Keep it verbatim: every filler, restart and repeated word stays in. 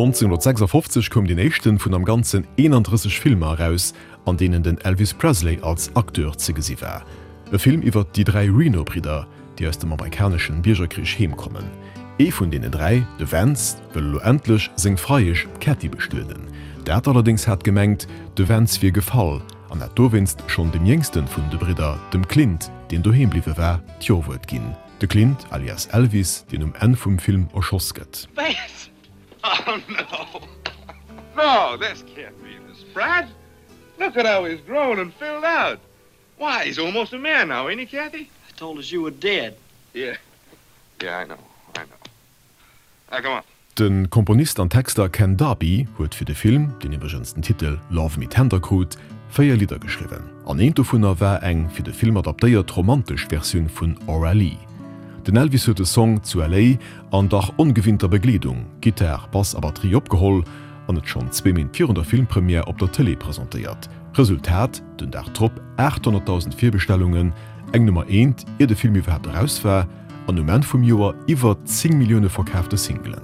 neunzehnhundertsechsundfofzeg koum deen éischten vun am Ganzen eenandrësseg Filmer eraus, an deenen den Elvis Presley als Acteur ze gesi war. E Film iwwer déi dräi Reno-Bridder, déi aus dem amerikaneschen Biergerkrich heemkommen. Ee vun deenen dräi, de Vance, wëll elo endlech seng Freiesch, d'Cathy, bestueden. Dat allerdéngs hat gemengt, de Vance wier gefall an hat dowéinst schonn dem jéngsten vun de Bridder, dem Clint, deen doheem bliwwe war, d'Jo-Wuert ginn. De Clint, alias Elvis, deen um Enn vum Film erschoss gëtt. Vance! Oh no! No, this can't be the Sprat! Look at how he's grown and filled out! Why, he's almost a man now, ain't he, Kathy? I told us you were dead. Yeah. Yeah, I know. I know. Now, come on. De Komponist an Texter Ken Darby huet fir de Film, deen iwwregens den Titel Love Me Tender krut, véier Lidder geschriwwen. An eent dovunner war eng fir de Film adaptéiert romantesch Versioun vun Aura Lee. Den Elvis huet de Song zu L A an dach ongewinnter Begleedung, Gittar, Bass a Batterie, opgeholl an et schonn zwee Méint virun der Filmpremière op der Tëlee presentéiert. Resultat, den Dag drop aathonnertdausend Virbestellungen, eng Nummer eent, ier de Film iwwerhaapt eraus war, an um Enn vum Joer iwwer zéng Millioune verkaafte Singlen.